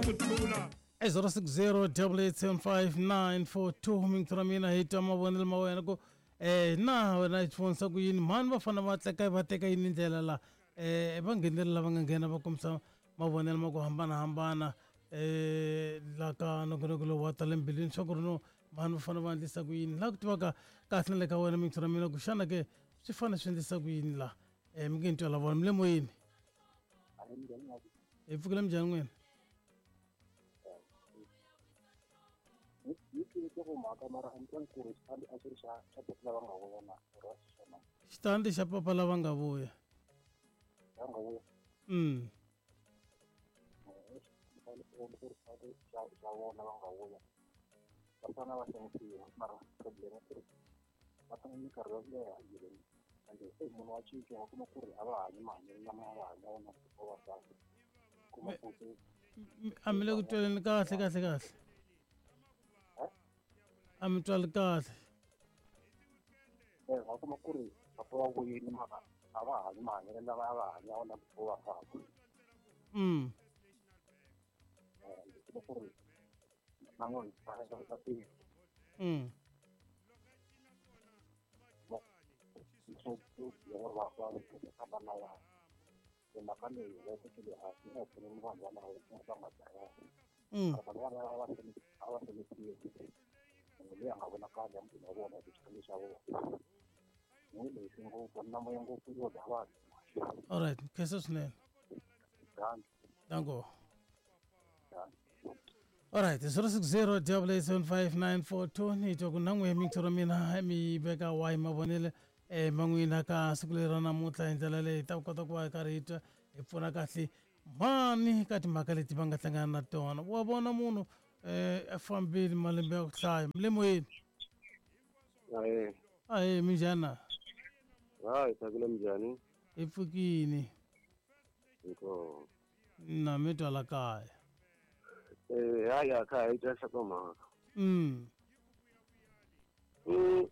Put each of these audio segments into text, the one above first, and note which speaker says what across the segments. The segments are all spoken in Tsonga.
Speaker 1: E 060 8875942 minthu ra mina hi twa mavonelo ma wena ku na wena hi vonisa ku yini mhani va fanele va tleka va teka yini ndlela la va nghenelela lava nga nghena va kombisa mavonelo ma ku hambanahambana la ka nongonoko lowu wa tala mbilwini swa ku ri no mhani va fanele va endlisa ku yini la ku tivaka kahle na le ka wena minthu ra mina ku xana ke swi fanele swi endlisa ku yini la mi nge ni twela vona mi le moyeni hi pfukile minjhani n'wina xitandi xa papa lava nga vuya
Speaker 2: va tshama minkarhi yo leha yini ende se munhu wa cinca wa kuma ku ri a va hanyi mahanyelo lama a va hanya wona before va famba kuma ku se
Speaker 1: a mi le ku tweleni kahle kahle kahle a mi twali kahle
Speaker 2: eh wa kuma ku ri papa va vuyini mara a va hanyi mahanyelo lama a va hanya wona before va famba ende kuma ku ri na n'wina va tirha mhaka leyi va tekele hansi a hi pfuneni vanhu valavo va nga dlayiwa vanhu valava a va hloniphiwi munhu loyi a nga vonakali ya mutini wa vona hi xitandi xa vona n'wi lexi ngopfu na moya ngopfu yo dya vanhu
Speaker 1: alright khensa swinene danko alright 060 875 ni twa ku na n'we mintshoro mina mi veka wahi mavonelo ma n'wina ka siku leri ra namuntlha hi ndlela leyi hi ta kota ku va hi karhi hi twa hi pfuna kahle mhani ka timhaka leti va nga hlangana na tona wa vona munhu a fambile malembe ya ku hlaya mi le moyeni
Speaker 3: Ahee.
Speaker 1: Ahee, minjhani na?
Speaker 3: Hayi, tsakile minjhani?
Speaker 1: Hi pfukini.
Speaker 3: Inkomu.
Speaker 1: Na mi twa la kaya.
Speaker 3: Eh, hayi a kha hi twa nhlokomhaka.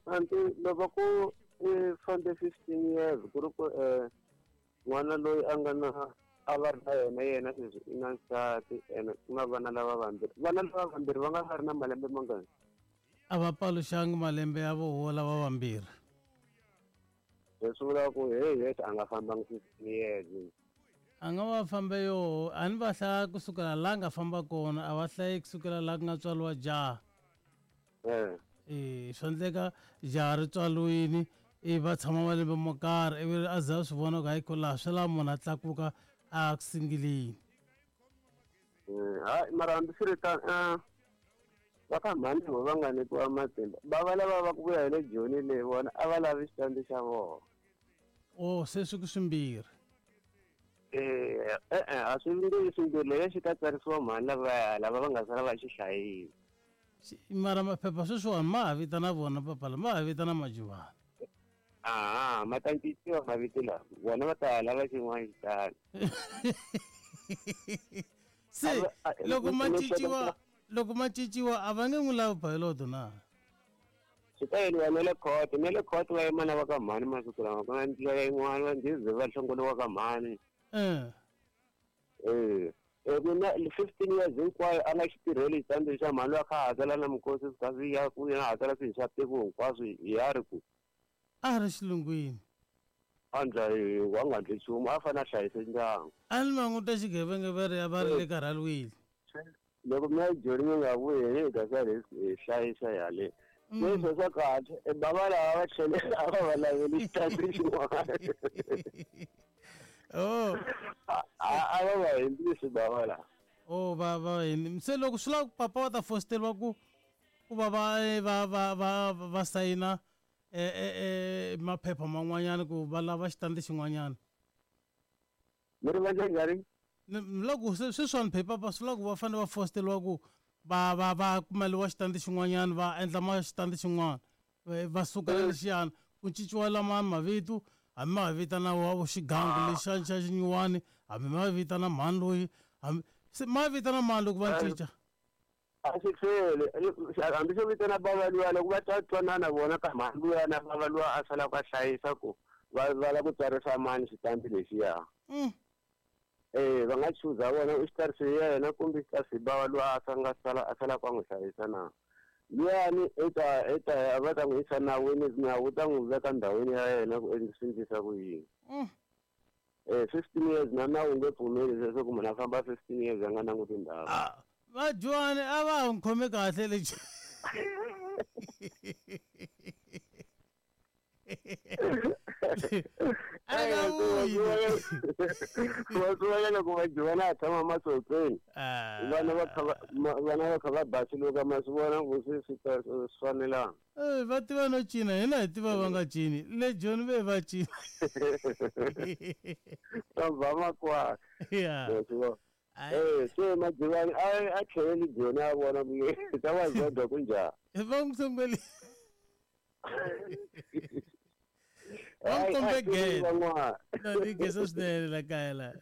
Speaker 3: Anti loko ku i fambe 15 years ku ri ku n'wana loyi a nga na a va ri na yena yena sweswi i na nsati ene ku na vana lava vambirhi vana lava vambirhi va nga va ri na malembe mangani
Speaker 1: a va paluxangi malembe ya voho lava vambirhi
Speaker 3: leswi vulaka ku hey yes a nga fambangi 15 years
Speaker 1: a nga va fambe yoho a ni va hlaya kusukela laha nga famba kona a va hlayi kusukela laha ku nga tswariwa jaha swa endleka jaha ri tswariwile i va tshama malembe mo karhi ivi a za a swi vona ku hayi ko laha swi lava munhu a tlakuka a ku singilini
Speaker 3: hayi mara hambiswiritano va ka mhani vo va nga nyikiwa matimba va va lava va ku vuya hi le joni leyi vona a va lavi xitandi xa vona
Speaker 1: o se swi ku swimbirhi
Speaker 3: e-e a swi nge swimbirhi leyo xi ta tsarisiwa mhani lavaya lava va nga sala va xi hlayile
Speaker 1: mara maphepha sweswiwani ma ha vitana vona papa la ma ha vitana majuvani
Speaker 3: aha ma ta cinciwa mavito lawa vona va ta lava xin'wana xitani
Speaker 1: se loko ma cinciwa loko ma cinciwa a va nge n'wi lavi bayiloto na
Speaker 3: swi ta yeliwa na le court na le court va yima na va ka mhani masiku lama ku na ndlela yin'wana va ndhize va hlongoliwa ka mhani ku na 15 years hinkwayo a nga xi tirheli xitandi xa mhani loyi a kha a hakela na mikosi swi kha swi ya ku yena hakela swilo swa tiko hinkwaswo ya ri ku
Speaker 1: a ri xilungwini
Speaker 3: a ndla wa nga ndli nchumu a fanele a hlayise ndyangu
Speaker 1: a ni languta xigevenge va ri va ri le karhaliwile
Speaker 3: loko mi ya joni mi nga vuyi hi ta sala hi hlayisa yale leswo swa kahle bava lava va tlhele a va va laveli xitandi xin'wana
Speaker 1: oh
Speaker 3: a va va hembisi bava lava
Speaker 1: oh va va se loko swi lava papa va ta fosteriwa ku ku va va va va va va sayina maphepha man'wanyana ku va lava xitandi xin'wanyana
Speaker 3: mi ri va njhani
Speaker 1: loko sweswiwani phepha swi lava ku va fanele va fosteriwa ku va va va kumeliwa xitandi xin'wanyana va endla ma xitandi xin'wana va suka lexiyana ku cinciwa lama mavito hambi ma vitana wa xigangu lexa xa xinyiwani hambi ma vitana mhani loyi hambi se ma vitana mani loko va cinca
Speaker 3: a swi hlweli hambi swo vitana bava luya loko va twa twanana vona ka mhani luya na bava luya a salaka a hlayisa ku va va lava ku tsarisa mani xitandi lexiya Va nga chuza vona u xikarhi yena kumbe xikarhi bava loyi a nga sala a sala ku n'wi hlayisa na. Luyani eta va ta n'wi yisa nawini nawu wu ta n'wi veka ndhawini ya yena ku swi endlisa ku yini. 15 years na nawu nge pfumeli leswaku munhu a famba 15 years a nga languti ndhawu.
Speaker 1: Vadyuhari a va ha n'wi khome kahle le
Speaker 3: wa loko vadyuhari a tshama masotsweni vana va kha vana va kha va basiluka ma swi vona ku swi swi fanelanga.
Speaker 1: Va tiva no cina hina hi tiva va nga cini le Joni ve va cina.
Speaker 3: Va makwala. Se Majivani a tlheleli Joni a vona ku ta va zodwa ku njhani.
Speaker 1: Va n'wi sunguli. Va n'wi kombe gede. No ni gesa swinene la kaya la.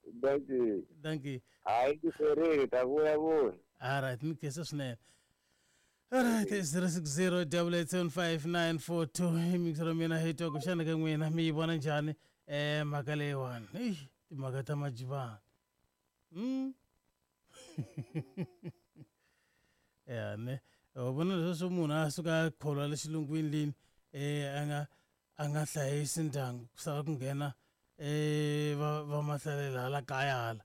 Speaker 3: Dankie.
Speaker 1: Dankie.
Speaker 3: Hayi ku ferile ta vuya vuya.
Speaker 1: All right, ni gesa swinene. All right, 060 8875942 mixero mina hi twa ku xana ka n'wina mi yi vona njhani mhaka leyiwani. Eish, timhaka ta Majivani. Ya ne wa vona leswo munhu a suka a kholwa le xilungwini lini a nga hlayisi ndyangu ku sala ku nghena va mahlalela hala kaya hala.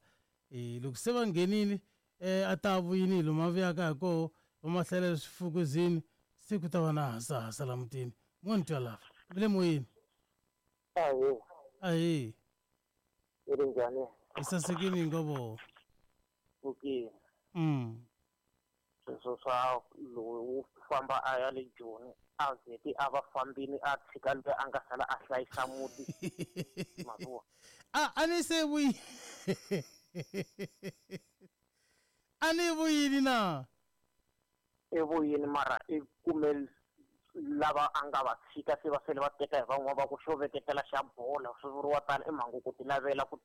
Speaker 1: Loko se va nghenile a ta vuyini lomu a vuyaka hi koho va mahlalela swifukuzini se ku ta va na hasahasa la mutini. Mo ni twa lava mi le moyeni. Ahee.
Speaker 2: I ri njhani?
Speaker 1: Hi sasekile hinkwavo.
Speaker 2: Okay. Sweswo swa lowu famba a ya le Joni a vheti a va fambini a tshika loyi a nga sala a hlayisa muti. Mavuwa.
Speaker 1: A ni se vuyi. A ni vuyini na?
Speaker 2: I vuyini mara i kume lava a nga va tshika se va sele va teka hi van'wana va ku xo veketela xa bola swi vuriwa tani i mhangu ku ti lavela ku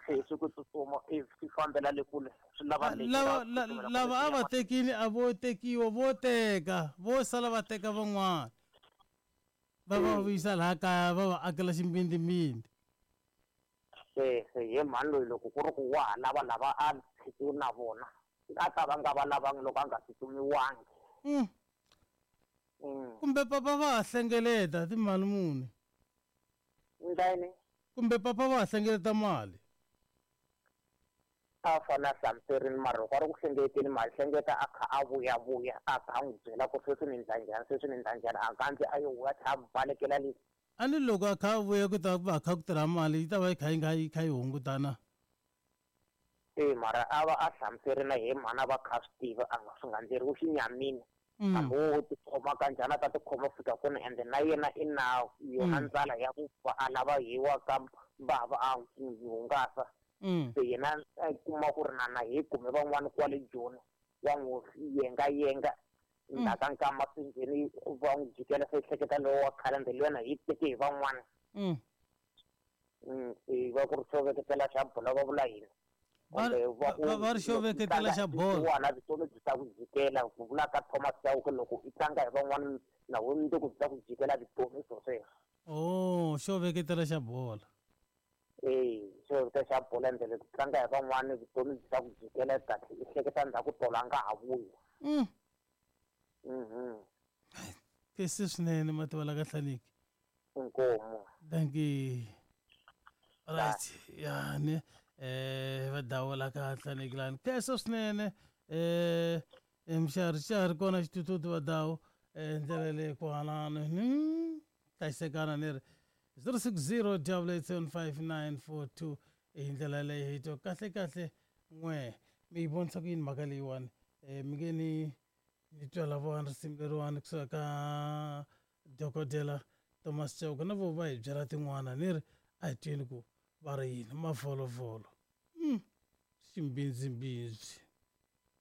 Speaker 2: swi ku tsutsuma i swi fambela le kule swi lava
Speaker 1: lava a va tekile a vo tekiwa vo teka vo sala va teka van'wana va va vuyisa laha kaya va va akela ximbindimbindi.
Speaker 2: Se ye mhani loyi loko ku ri ku wa ha lava lava a tshikiwe na vona a ta va nga va lavangi loko a nga tsutsumiwangi.
Speaker 1: Kumbe papa va ha hlengeleta timali muni?
Speaker 2: Ndani?
Speaker 1: Kumbe papa va ha hlengeleta mali?
Speaker 2: A fana hlamuserini mara loko a ri ku hlengeleteni mali hlengeta a kha a vuya vuya a kha a n'wi byela ku sweswi ni ndla njhani sweswi ni ndla njhani a kandzi a yo vuya tlhela a balekela le.
Speaker 1: A ni loko a kha a vuya ku ta va kha ku tirha mali yi ta va yi kha yi nga yi kha yi hungutana.
Speaker 2: Mara a va a hlamuserini hi mhana va kha swi tiva a nga swi nga ndleriwi xinyamini. Hambi wo tikhoma ka njhani a ta tikhoma fika kona ende na yena i na yona ndlala ya ku a lava hiwa ka bava a hungasa. Se yena a kuma ku ri na hi kume van'wana kwale Joni wa n'wi yenga yenga ndzhaka nkama swi ngheni va n'wi jikela se hleketa lowu wa khale ende yena hi teke hi van'wana. Va ku ri xo veketela xa bola va vula yini?
Speaker 1: Va ri xo veketela xa bola.
Speaker 2: Wona vutomi byi ta ku jikela ku vula ka Thomas Chauke loko i tlanga hi van'wana na wena mundzuku byi ta ku jikela vutomi swo sweswo.
Speaker 1: Oh, xo veketela xa bola.
Speaker 2: Xo veketela xa bola ndlela ku tlanga hi van'wana vutomi byi ta ku jikela kahle i hleketa ndzhaku tolo a nga ha vuyi.
Speaker 1: Kesi swinene mativa la ka Hlaniki.
Speaker 2: Inkomu.
Speaker 1: Dankie. Right. Ya ne va dawula ka Hlaniki lani. Kesi swinene mxari kona xitututu va dawu ndlela leyi ku hanana hlayisekana ni ri 060 8875942 hi ndlela leyi hi twa kahle kahle n'we mi yi vonisa ku yini mhaka leyiwani mi nge ni twa lavawani risimu leriwani kusuka ka dokodela Thomas Chauke na vo va hi byela tin'wana ni ri a hi tweni ku va ri yini mavholovholo ximbindzimbindzi.